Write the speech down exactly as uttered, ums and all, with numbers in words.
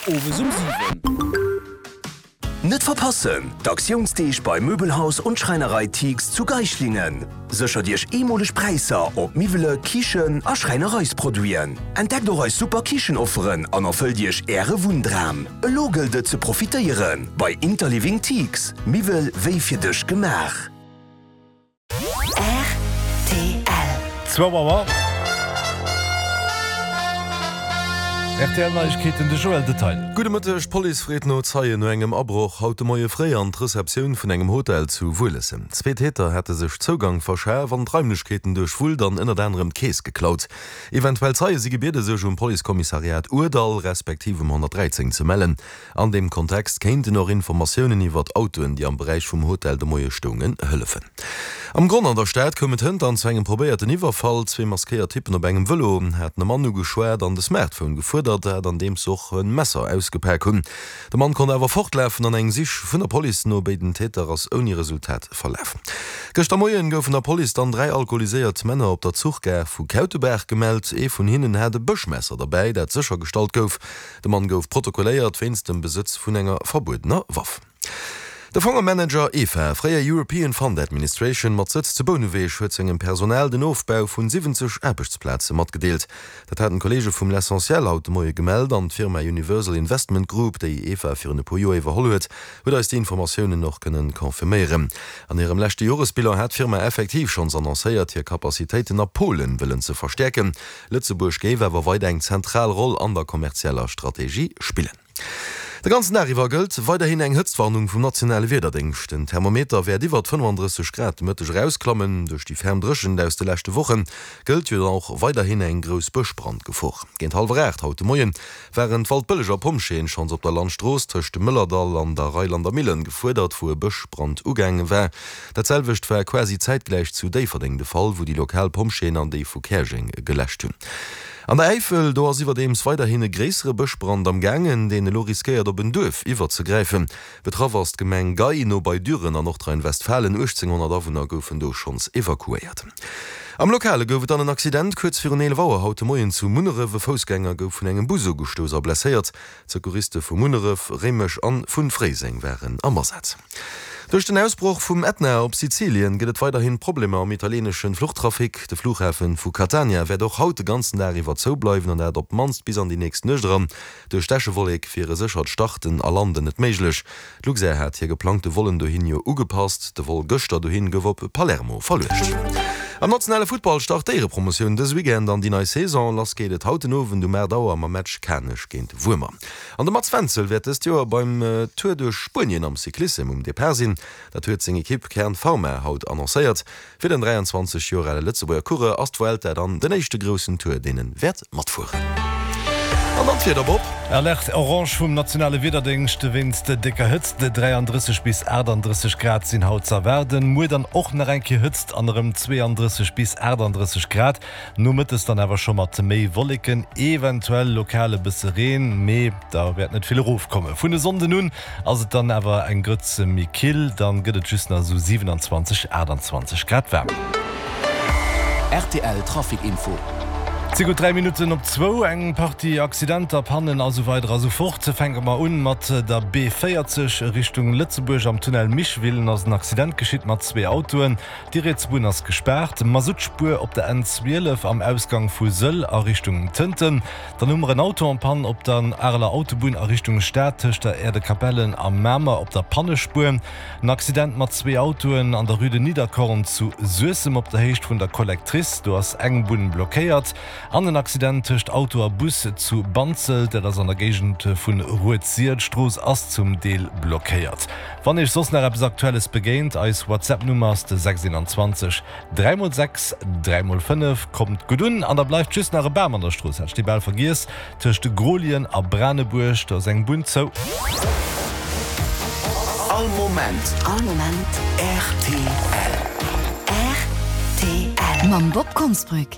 owes um siwen. Net verpassen, D'Aktiounsdeeg bei Möbelhaus und Schreinerei Tiegs zu Geislingen. Séchert Iech eemoleg Präisser op Miwwele, Kichen a Schräinereisproduiten. Entdeckt och eis super Kichenofferen an erfëllt Iech Äre Wunndram. Elo gëllt et ze profitéieren bei Interliving Tiegs, Miwwel wéi fir dech gemaach. Zwou Auer. Rtl Neiegkeeten, de Joël Detaille. Gudde Mëtteg, D'Police freet no Zeien no engem Abroch haut de Moie fréi an d'Receptioun vun engem Hotel zu Wuelesem. Zwee Täter hätte sech Zougang verschaf an d'Raimlechkeeten duerchwullt an ënnert anerem d'Keess geklaut. Eventuell Zeie si gebiede sech um Policekommissariat Ourdall respektiv um honnertdräizéng ze mellen. An deem Kontext kéinten och Informatiounen iwwert Autoen, déi am Beräich vum Hotel de Moie stoungen, hëllefen. Am Gronn an der Stad koum et hënt dann zu engem probéierten Iwwerfall. Zwee maskéiert Typpen op engem Vëlo haten e Mann ugeschwat an de Smartphone gefuerdert, dat andeems se och e Messer ausgepak hunn. De Mann konnt awer fortlafen an eng Sich vun der Police no béiden Täter ass ouni Resultat verlaf. Gëschter Moien goufen der Police dann dräi alkoholiséiert Männer op der Zuchgare vu Kautebaach gemellt. Ee vun hinnen hat e Bëschmesser derbäi, dat séchergestallt gouf. De Mann gouf protokolléiert wéinst dem Besëtz vun enger verbuedener Waff. De Fongemanager EFA, fréier European Fund Administration, mat Sëtz zu Bouneweg huet sengem Personal den Ofbau vun siwwenzeg Aarbechtsplaze matgedeelt. Dat haten d'Kolleege vum L'Essentiel haut de Moie gemellt an d'Firma Universal Investment Group, déi EFA virun e puer Joer iwwerholl huet, huet eis déi Informatiounen och kënnen confirméieren. An hirem leschte Joresbilan hat d'Firma effektiv schonns annoncéiert, hir Capacitéiten a Polen wëllen ze verstäerken. Lëtzebuerg géif awer weider eng zentral Roll an der kommerzieller Strategie spillen. De ganzen Dag iwwer gëllt weiderhin eng Hëtztwarnung vum nationale Wiederdéngscht. Den Thermometer wäert iwwert fënnefandrësseg Grad de Mëtteg erausklammen. Duerch déi ferm Dréchent aus de leschte Woche gëllt jo dann och weiderhin eng grouss Bëschbrandgefor. Géint hallwer aacht haut de Moie waren d'Waldbëlleger Pompjeeën schonns op der Landstrooss tëscht dem Mëllerdall an der Reilander Millen gefuerdert, wou e Bëschbrand ugaange war. Dat selwecht war quasi zäitgläich zu Déifferdeng de Fall, wou déi lokal Pompjeeën an déi vu Käerjeng geläscht hunn. An der Äifel, do ass iwwerdeems weiderhin e gréissere Bëschbrand am gaangen, deen elo riskéiert op en Duerf iwwerzegräifen. Betraff ass d'Gemeng Gey, no bei Düren an Nordrhein-Westfalen. uechtzénghonnert Awunner goufen do schonns evakuéiert. Am Lokale gouf et dann en Accident kuerz virun eelef Auer haut de Moien zu Munneref. E Foussgänger gouf vun engem Bus ugestouss a blesséiert. D'Secouriste vu Munneref, Réimech an vu Fréiseng waren am Asaz. Duerch den Ausbroch vum Ätna op Sizilien gëtt et weiderhin Problemer am italieneschen Fluchtrafic. De Flughafen vu Catania wäert och haut de ganzen Dag iwwer zou bleiwen an dat op d'mannst bis an déi nächst Nuecht eran. Duerch d'Äschewollek wier e séchert Starten a Landen net méiglech. D'Luxair hat hir geplangte Vollen dohin jo ugepasst. De Vol gëschter dohin gouf op Palermo verluecht. Am nationale Futtball start d'Éierepromotioun dës Weekend an déi nei Saison. Lass geet et haut den Owend um aacht Auer mam Match Kanech géint Wuermer. An de Mats Wenzel wäert dëst Joer beim Tour duerch Spuenien am Cyclissem um Depart sinn. Dat huet seng Ekipp Kern Pharma haut annoncéiert. Fir den dräianzwanzeg Joer ale Lëtzebuerger Coureur ass d'Vuelta dann den éischte groussen Tour, deen en wäert matfueren. An dann d'Wieder, Bob. Alerte orange vum nationale Wiederdéngscht wéinst décker Hëtzt. dräiandrësseg bis achtandrësseg Grad sinn haut ze erwaarden. Muer dann och nach eng Kéier Hëtzt an erëm zweeandrësseg bis achtandrësseg Grad. Nomëttes dann awer scho mat méi Wolleken, eventuell lokal e bësse Reen, mee da wäert net vill erofkommen. Vun e Sonnden un ass et dann awer eng Grëtz méi kill, dann gëtt et just nach esou siwenanzwanzeg, aachtanzwanzeg Grad waarm. Rtl Trafic Info. Et si gutt dräi Minutten op zwou. Eng Partie Accidenter, Pannen a sou weider a sou fort. Fänke mer un mat der B véierzeg Richtung Lëtzebuerg. Am Tunnel Micheville ass en Accident geschitt mat zwee Autoen. Déi riets Bunn ass gespaart. Masuttspuer op der N zwielef am Ausgang vu Sëll a Richtung Tënten. Dann hu mer en Auto en panne op der Areler Autobunn a Richtung Stad tëscht der Aire-de-Capellen a Mamer op der Pannespuer. En Accident mat zwee Autoen an der Rue de Nidderkorn zu Suessem op der Héicht vun der Collectrice. Do ass eng Bunn blockéiert. An en Accident tëscht Auto a Bus zu Banzelt, dat ass an der Géigend vun Rued-Sir. D'Strooss ass zum Deel blockéiert. Wann Iech soss nach eppes Aktuelles begéint, eis WhatsApp-Nummer ass de sechs eenanzwanzeg dräi mol sechs dräi mol fënnef. Kommt gutt un an da bleift just nach e Bam an der Strooss, hat ech dee bal vergiess, tëscht Grolien a Branebuerg, do ass eng Bunn zou. All Moment. All Moment. Rtl. Rtl. Mam Bob Konsbrück.